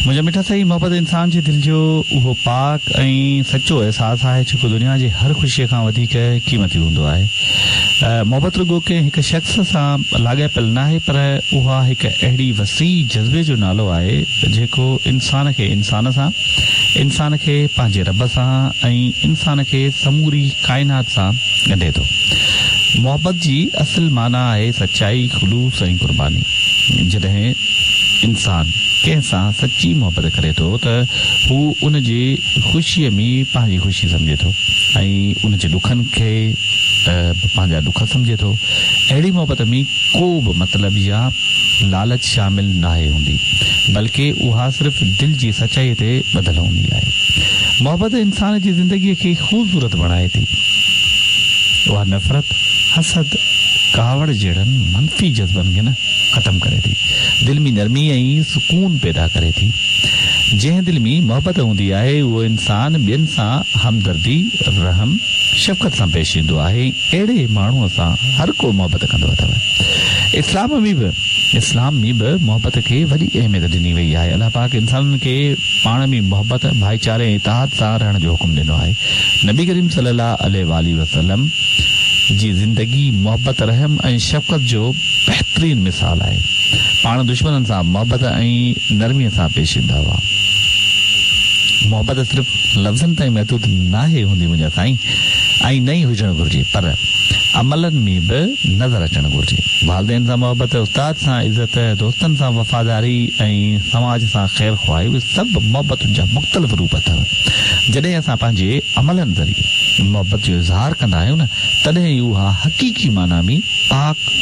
منهنجا مٺا سائين محبت انسان جي دل جو اهو پاڪ ۽ سچو احساس آهي جيڪو دنيا جي هر خوشيء کان وڌيڪ قيمتي هوندو آهي. محبت رڳو ڪنهن هڪ شخص سان لاڳاپيل ناهي پر اها هڪ اهڙي وسيع جذبي جو نالو آهي جيڪو انسان کي انسان سان، انسان کي پنهنجي رب سان ۽ انسان کي سموري ڪائنات سان ڳنڍي ٿو. محبت جي اصل معنيٰ آهي سچائي، خلوص ۽ قرباني. جڏهن انسان ڪنهن سان سچي محبت ڪري ٿو ته هو ان جي خوشيء ۾ پنهنجي خوشي سمجهي ٿو ۽ ان جي ڏکن کي به پنهنجا ڏک سمجهي ٿو. اهڙي محبت ۾ ڪو به مطلب يا لالچ شامل ناهي هوندي، بلڪه اها صرف دل جي سچائيء تي ٻڌل هوندي آهي. محبت انسان جي زندگيء کي خوبصورت بڻائي ٿي. اها نفرت، حسد، ڪاوڙ جهڙن منفي جذبن کي نه ختم ڪري ٿي. دل ۾ نرمي ۽ سڪون پيدا ڪري ٿي. جنهن دل ۾ محبت هوندي آهي، اهو انسان ٻين سان همدردي، رحم، شفقت سان پيش ايندو آهي ۽ اهڙي ماڻهوء سان هر ڪو محبت ڪندو اٿو. اسلام ۾ به اسلام ۾ به محبت کي وڏي اهميت ڏني وئي آهي. الله پاڪ انسانن کي پاڻ ۾ محبت، ڀائيچاري ۽ اتحاد سان رهڻ جو حڪم ڏنو آهي. نبي ڪريم صلي الله عليه واٰله وسلم جي زندگي محبت، رحم ۽ شفقت جو بهترين مثال آهي. پاڻ دشمنن سان محبت ۽ نرميء سان پيش ايندا هئا. محبت صرف لفظن تائين محدود ناهي هوندي منهنجا سائين ۽ نه ئي هجڻ گهرجي پر عملن ۾ به نظر اچڻ گهرجي. والدين سان محبت، استاد سان عزت، دوستن سان وفاداري ۽ سماج سان خير خواهي اهي سڀ محبتن جا مختلف روپ اٿو. جڏهن اسان پنهنجي عملن ذريعي محبت جو اظهار ڪندا آهيون نه تڏهن ئي اها حقيقي معنيٰ ۾ پاڪ.